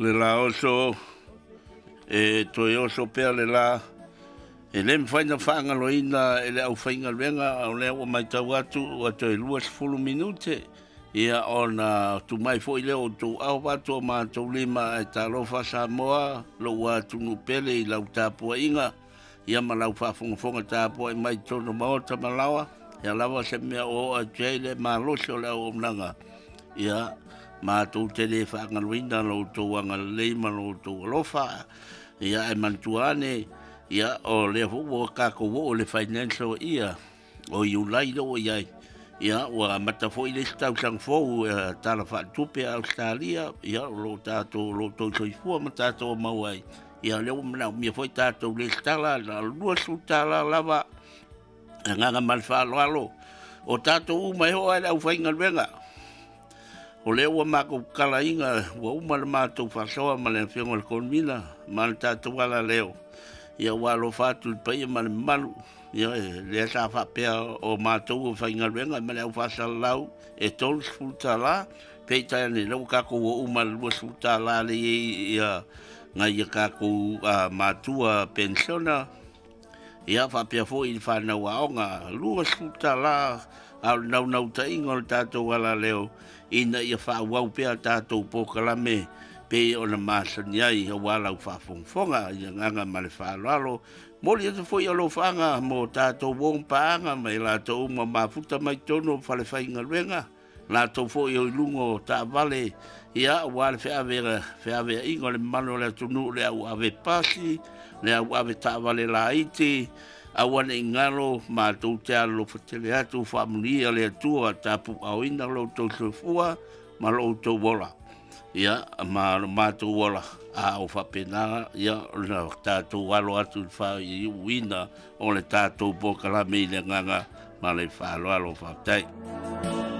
Le la oso e toe oso pea le la e le mafai ona faagaloina e le aufaigaluega, o lea ua matau atu ua toe 20 minute ia ona tumai foi lea o outou aao vaeatu o matou lima. Ae talofa Samoa, lou atunuu pele i lau tapuaiga ia ma lau faafogafoga tapuai mai i totonu o maota ma laoa, ia lava se mea o oo atu ai le malosi o le auaunaga, ia matou te le faagaloina lo outou agalelei ma lo outou alofa. Ia ae manatua ane, ia o lea foi ua tatou oo i le financial year o Iulai lea ua i ai, ia ua amata foi le isi tausaga fou tala faaletupe a Ausetalia, ia o lo o tatou o lo o outou soifua ma tatou maua ai. Ia o lea ua manaomia foi tatou resitala na o le $20 lava. Agaga ma le faaaloalo, o tatou uma e oo lava i le aufaigaluega, o lea ua matou tatalaina, ua uma le matou faasoa ma le Afioga i le Konimina ma le tatou alaleo, ia ua alofa atu i le paia ma le mamalu, ia lea sa faapea o matou o faigaluega ma le au faasalalau e $30, peitai ane lea ua tatou oo uma i le $20 lea e i ai ia nai a tatou matua penisiona, ia faapea foi i le fanau aoga, $20. A o le naunautaiga o le tatou alaleo ina ia faaauau pea tatou polokalame pei ona masani ai aua lau faafogafoga i le agaga ma le faaaloalo. Momoli atu foi alofaaga mo tatou uo ma paaga ma i latou uma mafuta mai totonu o falefaigaluega, latou foi o i luga o taavale, ia aua le feaveaiga o le mamalu o le atunuu, le au ave pasi, le au ave taavale laiti, aua ne i galo, matou te alolofa tele atu, faamanuia le Atua, tapuaaoina lo outou soifua ma lo outou ola. Ia, ma lo matou ola, a o faapena, ia, ona tatou alo atu i le faaiuina o le tatou polokalame i le agaga ma le faaaloalo. Faafetai.